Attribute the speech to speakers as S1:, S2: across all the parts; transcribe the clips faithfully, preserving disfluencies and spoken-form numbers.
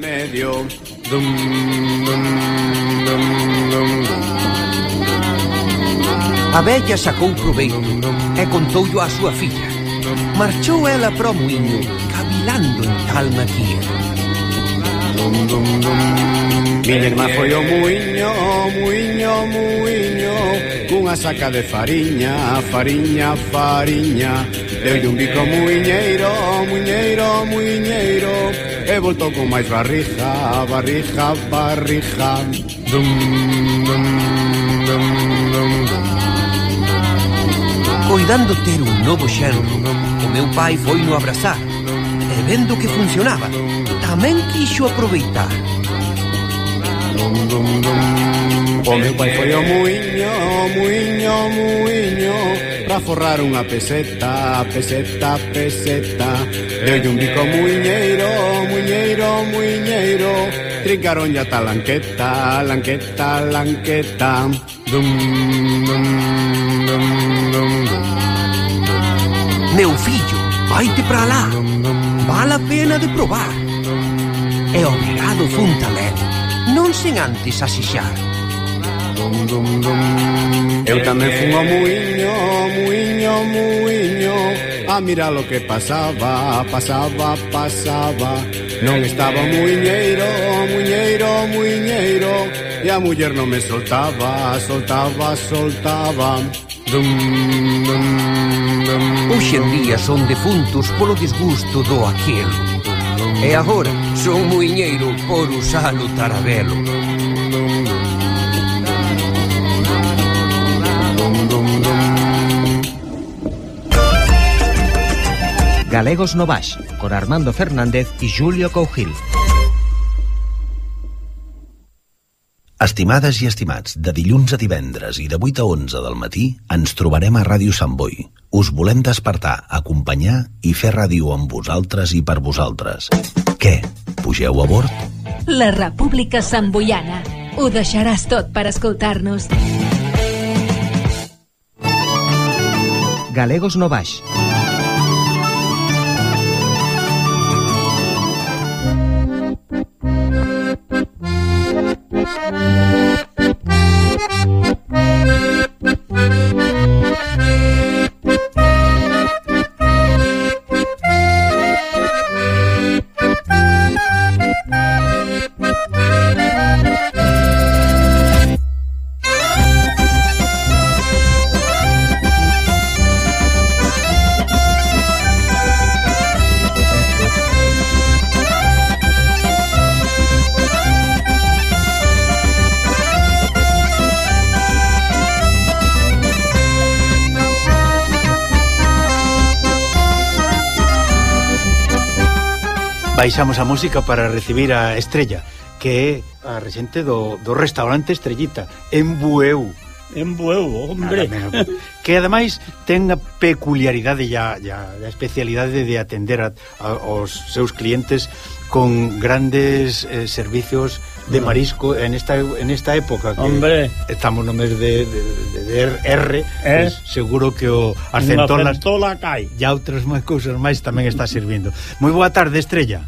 S1: medio. Dum, dum, dum, dum, dum.
S2: A vella sacou proveito e contoullo á súa filla. Marchou ela para o muiño, cavilando en tal maquía.
S1: Dum, dum, dum. Miña irmá foi ao muiño, muiño, muiño, cunha saca de fariña, fariña, fariña. Deulle un bico muiñeiro, muiñeiro, muiñeiro, e voltou con máis barriga, barriga, barriga. Dum, dum, dum, dum, dum.
S2: Coidando ter un novo xenro, o meu pai foi no abrazar, e vendo que funcionaba, tamén quixo aproveitar.
S1: Dum, dum, dum. O meu pai foi ao muiño, muiño, muiño, pra forrar unha peseta, peseta, peseta. Deulle un bico muiñeiro, muiñeiro, muiñeiro, trincaronlle a talanqueta, lanqueta, lanqueta. Dum, dum, dum, dum, dum.
S2: Meu fillo, vaite pra lá, vale a pena de probar. E obrigado fun tamén, non sen antes asixar.
S1: Dum, dum, dum. Eu tamén fun ao muiño, muiño, muiño, a mirar lo que pasaba, pasaba, pasaba. Non estaba o muiñeiro, muiñeiro, muiñeiro, e a muller non me soltaba, soltaba, soltaba. Dum, dum, dum.
S2: Hoxe en día son defuntos polo desgusto do aquelo, e agora son muiñeiro por usar o tarabelo.
S3: Galegos no Baix, con Armando Fernández e Julio Cougil.
S4: Estimades i estimats, de dilluns a divendres i de vuit a onze del matí ens trobarem a Ràdio Sant Boi. Us volem despertar, acompanyar i fer ràdio amb vosaltres i per vosaltres. Què? Pugeu a bord?
S5: La República Santboiana. Ho deixaràs tot per escoltar-nos.
S3: Galegos no Baix.
S6: Baixamos a música para recibir a Estrella, que é a rexente do, do restaurante Estrellita en Bueu.
S7: En Bueu, hombre.
S6: Que ademais ten a peculiaridade e a, a especialidade de atender a, a, aos seus clientes con grandes eh, servicios de marisco en esta en esta época que
S7: hombre,
S6: estamos no mes de, de, de, de R,
S7: eh?
S6: pues seguro que o as centolas
S7: cai.
S6: E outras máis cousas máis tamén está servindo. Moi boa tarde, Estrella.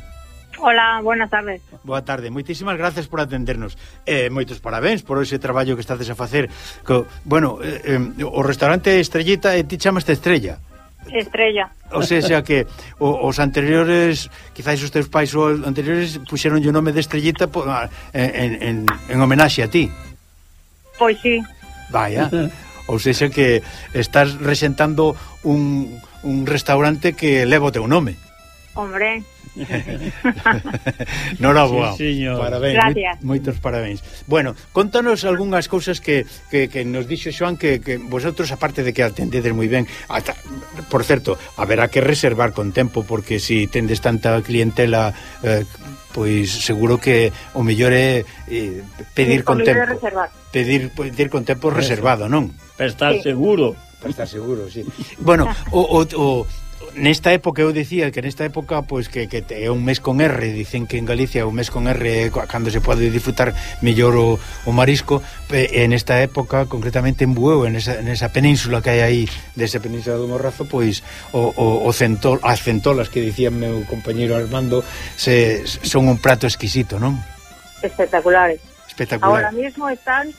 S8: Hola, buenas tardes.
S6: Boa tarde, moitísimas gracias por atendernos. Eh, moitos parabéns por ese traballo que estades a facer. Co, bueno, eh, eh, o restaurante Estrellita, e ti chamaste Estrella.
S8: Estrella.
S6: O sea que o, os anteriores, quizás os teus pais os anteriores puxeron o nome de Estrellita po, en, en, en homenaxe a ti.
S8: Pois sí.
S6: Vaya. Ou seja que estás resentando un, un restaurante que leva o teu nome.
S8: Hombre.
S6: Noraboa.
S7: Sí, señor.
S6: Parabéns.
S8: Gracias.
S6: Moitos parabéns. Bueno, contanos algunhas cousas que, que, que nos dixo Xoan que, que vosotros, aparte de que atendedes moi ben, ata, por certo, haberá que reservar con tempo, porque se si tendes tanta clientela, eh, pois seguro que o mellor é eh, pedir con tempo. Pedir, pedir con tempo reservado, non?
S7: Para estar
S8: sí.
S7: seguro.
S6: Para estar seguro, sí. Bueno, o, o, o nesta época eu dicía que nesta época pois que, que é un mes con R, dicen que en Galicia o mes con R é cando se pode disfrutar mellor o, o marisco, e nesta época concretamente en Bueu, en esa, en esa península que hai aí desa península do Morrazo, pois o, o, o centol, as centolas que dicía meu compañeiro Armando se, son un prato exquisito, non?
S8: Espectaculares.
S6: Espectacular.
S8: Ahora mismo están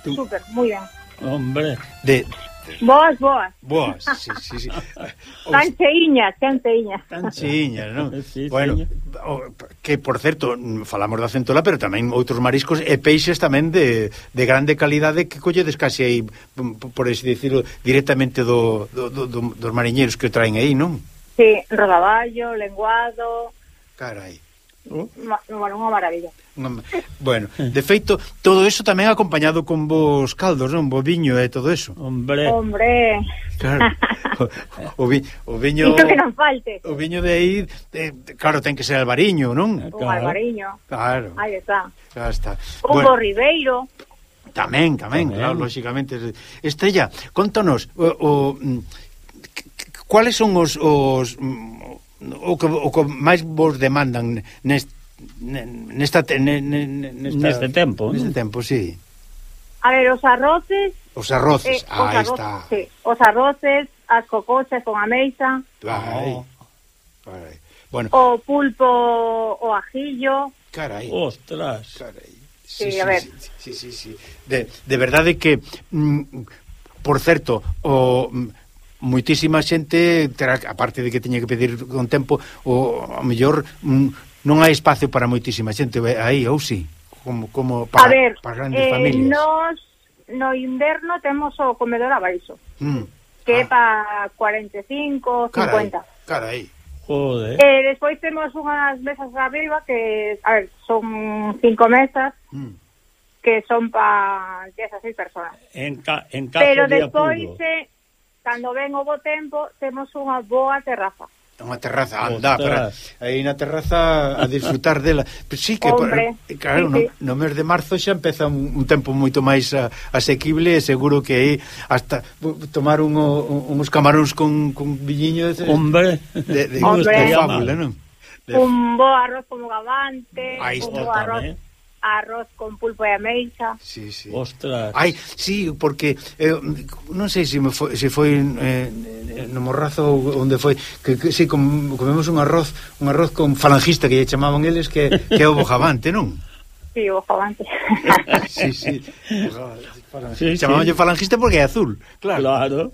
S6: Tú.
S8: súper, muy bien.
S7: Hombre.
S6: De
S8: Boas, boas.
S6: Boas, sí, sí, sí.
S8: Tan cheiñas, tan cheiñas.
S6: Tan cheiñas, non?
S7: Sí,
S6: bueno, o, que por certo, falamos da centola, pero tamén outros mariscos e peixes tamén de, de grande calidade que colledes casi aí, por así decirlo, directamente do, do, do, dos mariñeiros que o traen aí, non?
S8: Sí, rodaballo, lenguado.
S6: Carai.
S7: Oh.
S8: Bueno, unha maravilla.
S6: Bueno, de feito, todo eso tamén acompañado con vos caldos, non? Bo viño e todo eso.
S7: Hombre.
S8: Hombre.
S6: Claro. O, o, vi, o viño...
S8: Isto que non falte.
S6: O viño de aí, eh, claro, ten que ser albariño, non?
S8: Un albariño.
S6: Claro.
S8: Aí está.
S6: Já está.
S8: Un
S6: Bueno,
S8: bo ribeiro.
S6: tamén, tamén,
S7: Tamén.
S6: claro, lógicamente. Estrella, contanos, o, o, cuáles son os... os o que, o que máis vos demandan nest, nesta, nesta,
S7: neste tempo,
S6: neste
S7: ¿no?
S6: tempo, sí.
S8: A ver, os arroces.
S6: Os arroces,
S8: eh,
S6: ah, aí
S8: os arroces,
S6: está.
S8: Sí, os arroces, as cocochas con ameixa,
S6: Ai,
S7: Oh.
S6: carai. Bueno,
S8: o pulpo o ajillo.
S6: carai.
S7: Ostras.
S6: Carai.
S8: Sí, a ver.
S6: Sí, sí, sí. De, de verdade que, mm, por certo, o... moitísima xente terá, aparte de que teña que pedir con tempo, o a mellor mm, non hai espacio para moitísima xente aí, ou si? Como, como para,
S8: A ver,
S6: para grandes
S8: eh,
S6: familias.
S8: nos no inverno temos o comedor a baixo,
S6: Mm.
S8: que é
S6: Ah,
S8: para cuarenta e cinco,
S6: carai,
S8: cincuenta.
S6: carai.
S7: Joder.
S8: Eh, despois temos unhas mesas arriba que, a ver, son cinco mesas
S6: Mm.
S8: que son para dezasseis personas.
S7: En, ca, en caso
S8: Pero
S7: de
S8: despois,
S7: apuro.
S8: eh, cando ven o bo tempo, temos unha boa terraza.
S6: Unha terraza, anda, para,
S7: Ostras.
S6: aí na terraza a disfrutar dela. Pero sí que,
S8: Hombre,
S6: por, claro,
S8: sí, sí.
S6: no, no mes de marzo xa empeza un, un tempo moito máis a, asequible e seguro que aí hasta tomar un, un, uns camaróns con, con viñiño de,
S7: Hombre.
S6: de, de,
S8: Hombre.
S6: de fábula, non? De,
S8: Un bo arroz como gavante,
S6: Aí
S8: un
S6: está
S8: bo arroz,
S7: tamén.
S8: arroz con pulpo e ameixa.
S6: sí, sí.
S7: Ostras.
S6: Ai, sí, porque eh, non sei se me foi, se foi eh, no Morrazo onde foi que, que si com, comemos un arroz, un arroz con falangista que lle chamaban eles que, que é o bojavante, non?
S8: Sí, o gavante.
S6: Sí, sí.
S7: Sí,
S6: Chamabanlle
S7: sí.
S6: falangista porque é azul, claro.
S7: Claro.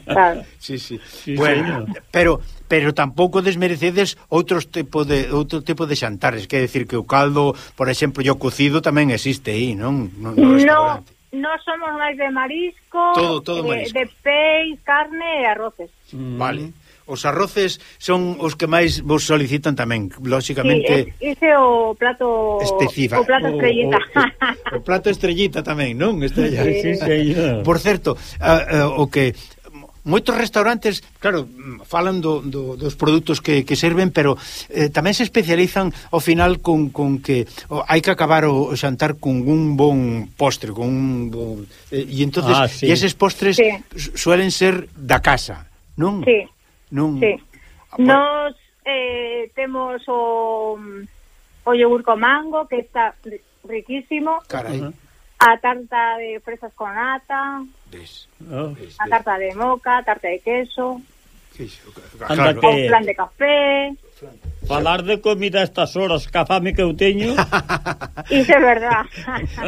S8: Claro.
S6: Sí, sí.
S7: Sí,
S6: bueno,
S7: señor.
S6: pero pero tampouco desmerecedes outros tipo de outro tipo de xantares, quer decir que o caldo, por exemplo, e o cocido tamén existe aí, non? No, no
S8: No,
S6: restaurante.
S8: no somos máis de marisco,
S6: Todo- todo
S8: eh,
S6: marisco.
S8: de peix, carne e arroces.
S7: Mm.
S6: Vale. Os arroces son os que máis vos solicitan tamén,
S8: Sí,
S6: lógicamente.
S8: es, ese o plato
S6: Específica.
S8: o plato
S6: O-
S8: estrellita.
S6: O, o plato estrellita tamén, non? Estrella.
S7: Sí, señor.
S6: Por certo, a, a, o que moitos restaurantes, claro, falan do, do, dos produtos que, que serven, pero eh, tamén se especializan ao final con, con que oh, hai que acabar o, o xantar con un bon postre, con un bon... Eh, e entonces,
S7: Ah, sí.
S6: e eses postres
S8: Sí.
S6: su- suelen ser da casa, non?
S8: Sí,
S6: Non...
S8: sí.
S6: Ah, bueno,
S8: Nos eh, temos o, o yogur con mango, que está ri- riquísimo.
S6: Carai.
S7: Ajá.
S8: A tarta de fresas con nata,
S6: Ves,
S7: Oh.
S6: ves,
S8: a
S6: ves.
S8: tarta de moca, tarta de queso,
S6: Que iso,
S7: Anda
S6: claro.
S7: que-
S8: o flan de café.
S7: Falar de comida a estas horas, que a fame que eu teño,
S8: Iso é verdad.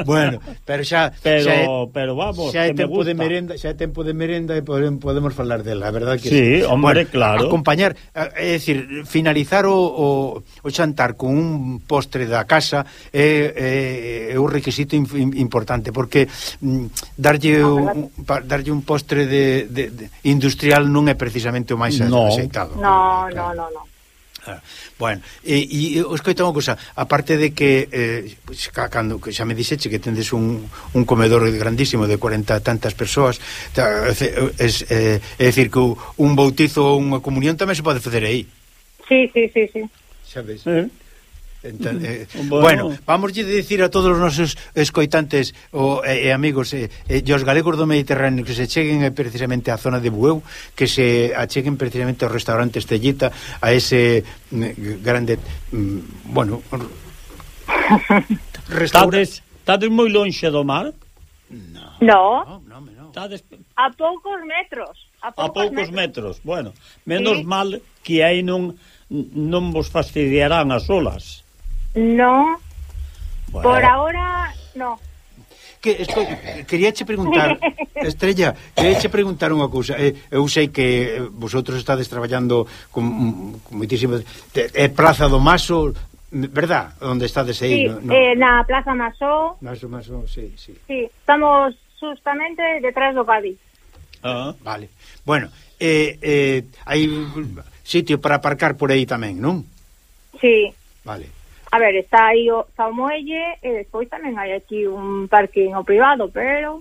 S6: Bueno, pero xa
S7: pero
S6: xa é,
S7: pero vamos,
S6: xa é
S7: que me
S6: tempo
S7: gusta.
S6: de merenda, xa é tempo de merenda e podemos, podemos falar dela, a verdade que
S7: Sí, hombre,
S6: bueno,
S7: claro.
S6: acompañar, é dicir, finalizar o, o, o xantar con un postre da casa é, é, é un requisito in, in, importante, porque mm, darlle, un, pa, darlle un postre de, de, de industrial non é precisamente o máis
S7: No.
S6: axeitado.
S8: No,
S6: Claro.
S8: no, no, no.
S6: Ah, bueno, e, e escoita unha cosa, aparte de que eh, pues, ca- cando que xa me dixeche que tendes un, un comedor grandísimo de cuarenta tantas persoas, ta, es, eh, é dicir que un bautizo ou unha comunión tamén se pode facer aí,
S8: Sí, sí, sí, sí.
S6: sabes?
S7: Eh?
S6: Entón, eh,
S7: Bueno.
S6: bueno, vamos a dicir a todos os nosos escoitantes o, e, e amigos e, e, e os galegos do Mediterráneo que se cheguen eh, precisamente á zona de Bueu, que se acheguen precisamente ao restaurante Estrellita, a ese mm, grande mm, bueno
S7: restaurante. Estades moi lonxe do mar?
S6: No,
S8: No,
S6: no, no, no.
S7: Estades
S8: a poucos metros. A
S7: a
S8: poucos,
S7: poucos
S8: metros.
S7: metros. Bueno, menos
S8: Sí.
S7: mal que aí non non vos fastidiarán as olas.
S8: No,
S7: Bueno,
S8: por ahora, no.
S6: Que, esco, queríache preguntar, Estrella, queríache preguntar unha cousa. Eh, eu sei que vosotros estades traballando con, con moitísimo... É Praza do Maso, verdad? Onde estades aí?
S8: Sí,
S6: no, no.
S8: eh, na Plaza Masó,
S6: Maso, Maso, sí, sí.
S8: sí, estamos justamente detrás do Cádiz.
S7: ah,
S6: Vale. Bueno, eh, eh, hai sitio para aparcar por aí tamén, non?
S8: Sí,
S6: Vale.
S8: a ver, está aí o, está o muelle e despois tamén hai aquí un parking o privado, pero...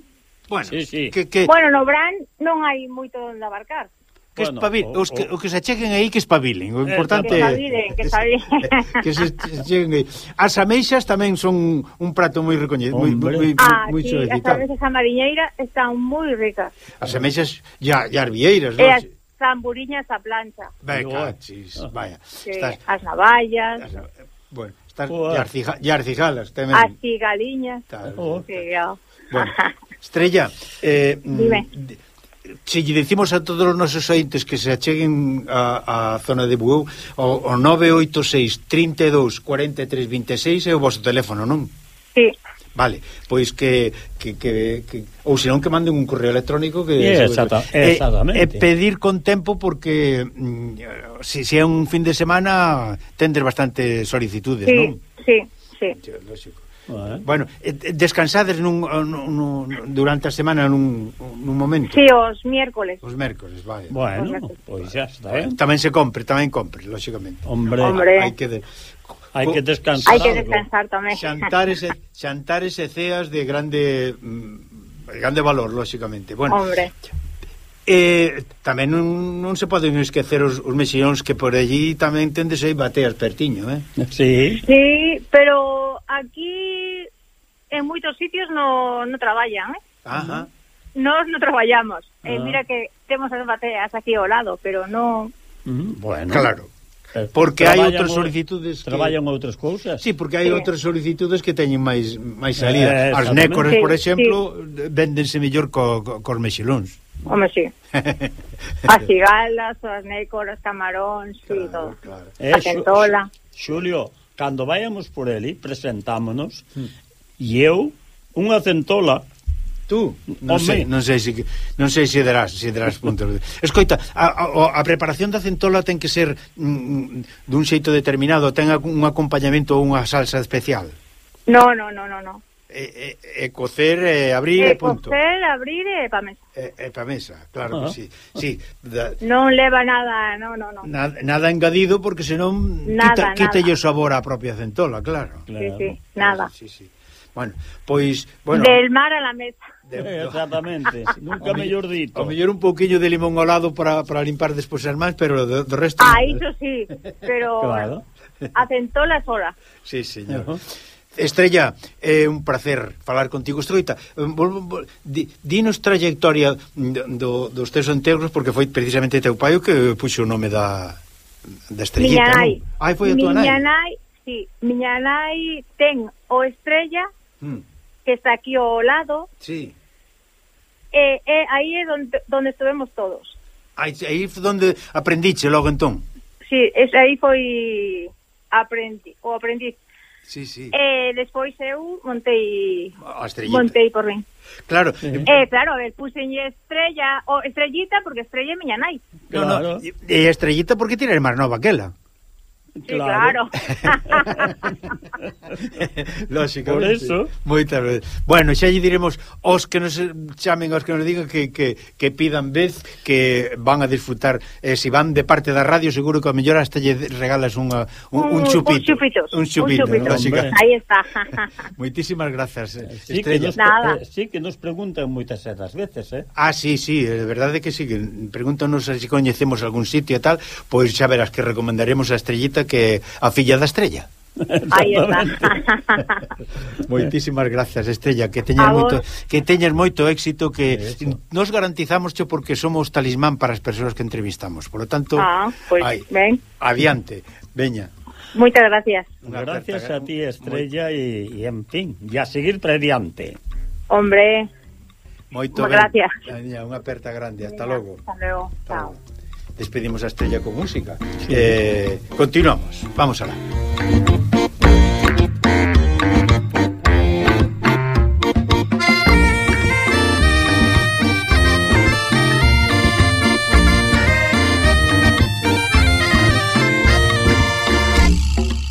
S6: Bueno,
S7: Sí, sí.
S6: que, que,
S8: Bueno, no Bran non hai moito onde abarcar.
S6: que
S7: bueno,
S6: espabil,
S7: o-
S6: os, que,
S7: o-
S6: o que se acheguen aí que espabilen. O
S7: Eh,
S6: importante
S8: Que espabilen, que espabilen.
S6: que se cheguen aí. As ameixas tamén son un prato moi recoñecido, moi
S7: Hombre.
S6: moi
S8: Ah,
S6: moi
S8: sí, as
S6: solicitado.
S8: cervezas a mariñeira están moi ricas.
S6: As ameixas ya ya arbieiras,
S8: E
S6: non?
S8: as zamburiñas a plancha.
S6: Venga, chis, vaya.
S8: Sí,
S6: Estás,
S8: as navallas,
S6: estás- bueno, estás
S7: Joder.
S6: ya arcija- ya arcijalas tamén.
S8: as cigaliñas.
S6: Tal.
S7: Oh.
S8: Sí, ya.
S6: Bueno, Estrella, eh,
S8: Dime.
S6: mm, se lle dicimos a todos os nosos ointes que se acheguen a, a zona de Bueu o, o nove oito seis, trinta e dous, cuarenta e tres, vinte e seis é o vosso teléfono, non?
S8: Sí,
S6: Vale, pois que, que, que, que ou senón que manden un correo electrónico que
S7: Yeah, exacta-
S6: e,
S7: exactamente.
S6: e pedir con tempo porque mm, se, se é un fin de semana tendes bastante solicitudes,
S8: sí,
S6: non?
S8: sí, sí.
S6: Sí, lógico.
S7: eh.
S6: Bueno, eh, descansades nun, nun, nun, durante a semana nun, nun momento.
S8: Sí, os miércoles.
S6: Os mércores, vale.
S7: Bueno, pois xa está, eh?
S6: Tamén se compre, tamén compre, lógicamente.
S7: Hombre,
S8: Hombre.
S6: Hai que de,
S7: hai que descansar.
S8: Hai que
S7: algo.
S8: descansar tamén.
S6: xantares e, xantares e ceas de grande mm, de grande valor, lógicamente. Bueno,
S8: Hombre,
S6: eh, tamén non, non se poden esquecer os, os mexillóns que por allí tamén tendes aí bateas pertiño, eh?
S7: Sí,
S8: sí, pero aquí en moitos sitios no, no traballan, eh?
S6: Ajá.
S8: Nós non traballamos.
S7: Ah.
S8: Eh, mira que temos as bateas aquí ao lado, pero no...
S7: mm, bueno.
S6: Claro.
S7: Eh,
S6: Porque hai
S7: traballan
S6: outras
S7: o-
S6: solicitudes que...
S7: Traballan outras cousas.
S6: Sí, porque hai
S8: Sí.
S6: outras solicitudes que teñen máis máis salida.
S7: Eh,
S6: As
S7: exactamente.
S6: nécores, por
S8: Sí,
S6: exemplo, véndense mellor co, co, cos mexilóns.
S8: Home, sí. As cigalas, as nécoras, camaróns, sí, todo.
S6: claro.
S7: Eh,
S8: A centola.
S7: Xu- Xulio, cando vayamos por eli, presentámonos,
S6: Hmm.
S7: e eu, unha centola,
S6: Tú, non
S7: Home.
S6: sei, non sei se non sei se darás, se darás puntos. Escoita, a, a, a preparación da centola ten que ser mm, dun xeito determinado, ten un acompañamento ou unha salsa especial.
S8: No, no, no, no, no.
S6: E, e, e cocer, e abrir e
S8: Eh,
S6: punto.
S8: cocer, abrir e pa mesa.
S6: E, e pa mesa, claro
S7: Ah.
S6: que sí. Sí, da,
S8: Non leva nada, no, no, no.
S6: nada, nada engadido porque senón
S8: Nada,
S6: quita, quita
S8: nada.
S6: o sabor á propia centola, claro.
S8: Sí,
S7: claro.
S8: sí, nada.
S6: Sí, sí. Bueno, pois, bueno,
S8: Del mar a la mesa.
S6: de,
S7: Eh, exactamente, nunca mellor dito.
S6: ao mellor un pouquiño de limón ao lado para, para limpar despois as mans, pero do, do resto
S8: Ah,
S6: nada.
S8: iso sí, pero
S7: Claro.
S8: a centola sola.
S6: Sí, señor.
S7: Ujú.
S6: Estrella, é un placer falar contigo. Estroita, vol, vol, di, dinos trayectoria do, dos teus entegros, porque foi precisamente teu pai o que puxo o nome da, da Estrellita,
S8: Miña nai.
S6: non? Ai, foi a tua
S8: Miña
S6: nai?
S8: nai, sí, miña nai ten o Estrella,
S6: Mm,
S8: que está aquí ao lado,
S6: sí.
S8: e, e aí é donde, donde estuvemos todos.
S6: Aí, aí foi onde aprendiche logo entón.
S8: Sí, es, aí foi aprendi, o aprendiz.
S6: Sí, sí.
S8: E despois eu montei
S6: A Estrellita.
S8: montei por min.
S6: Claro.
S7: Sí.
S8: Eh, claro, a ver, puxenlle Estrella, o Estrellita, porque Estrella é miña nai.
S6: No, no,
S7: Claro.
S6: e, e a Estrellita porque tira máis nova que ela.
S8: Sí, claro.
S6: Lógico.
S7: Por eso.
S6: Moitas veces. Bueno, xa lle diremos aos que nos chamen, aos que nos digan que, que, que pidan vez, que van a disfrutar. Eh, se van de parte da radio, seguro que a mellor hasta lle regalas unha, un, un chupito.
S8: Un chupito.
S6: Un chupito,
S8: un chupito.
S6: lógica.
S8: Aí está.
S6: Moitísimas grazas, eh,
S7: Sí que,
S6: Estrella.
S7: nos,
S8: Nada.
S7: eh, sí que nos preguntan moitas das veces, eh?
S6: Ah, sí, sí, é verdade que sí, que pregúntanos se coñecemos algún sitio e tal, pois xa verás que recomendaremos a Estrellita, que a filla da Estrella.
S8: Aí está.
S6: Moitísimas grazas, Estrella, que teñas moito que teñas moito éxito, que nos garantizamos cho porque somos talismán para as persoas que entrevistamos. Por lo tanto,
S8: ah, pues,
S6: ay,
S8: ven.
S6: Adiante, veña.
S8: Moitas gracias.
S7: Gracias a ti, Estrella, e, e en fin, e a seguir para diante.
S8: Hombre,
S6: moito
S8: gracias.
S6: Unha aperta grande, hasta logo.
S8: Hasta logo, chao.
S6: Despedimos a Estrella con música. Sí. Eh, continuamos, vamos alá.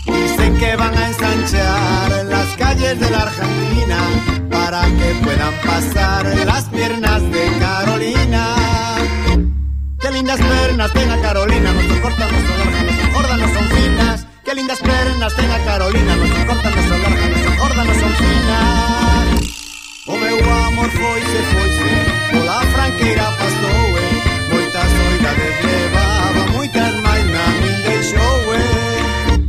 S1: Dicen que van a ensanchar las calles de la Argentina para que puedan pasar las piernas de Carolina. Qué lindas pernas tenga Carolina, no se cortan, no se alargan, no se engordan, no son finas. Qué lindas pernas tenga Carolina, no se cortan, no se alargan, no se engordan, no son finas. O meu amor foise, foise, pola franqueira pasou, eh. Moitas oidades levaba, moitas máis na min deixou, eh.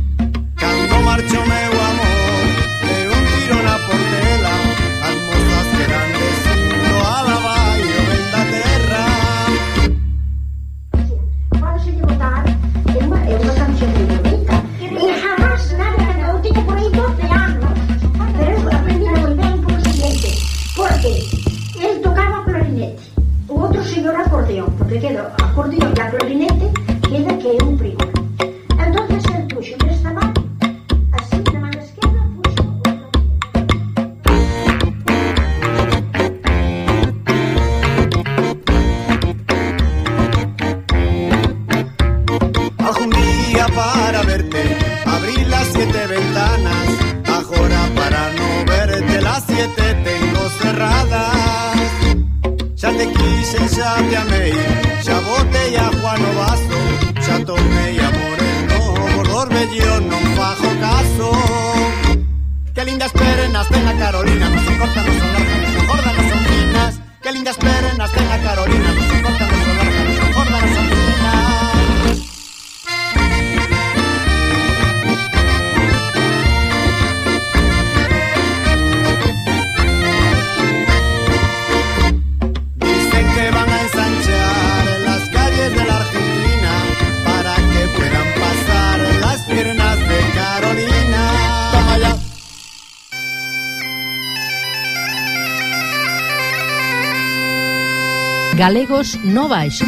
S1: Cando marchou meu amor, deu un tiro na portela. As mozas quedan dicindo alaba e o ben da terra.
S9: É unha canción moi bonita e jamás nada, eu teño por aí doce anos, pero eu aprendi moi ben por o siguiente, porque el tocaba clarinete, o outro señor acordeón, porque queda acordeón e a clarinete queda que é un primo. Entonces el puxo nesta man, así na man esquerda puxo
S1: algún día para verte abrí las siete ventanas, agora para no verte las siete tengo cerradas. Xa te quise, xa te amei, xa botei a Juan o vaso, xa tomei amor en novo, dos vellos non fajo caso. Que lindas pernas ten a Carolina, non se cortan, non son largas, non son gordas, non son finas. Que lindas pernas ten a Carolina, non se cortan, non son largas, non son gordas, non son finas.
S5: Galegos no Baixo.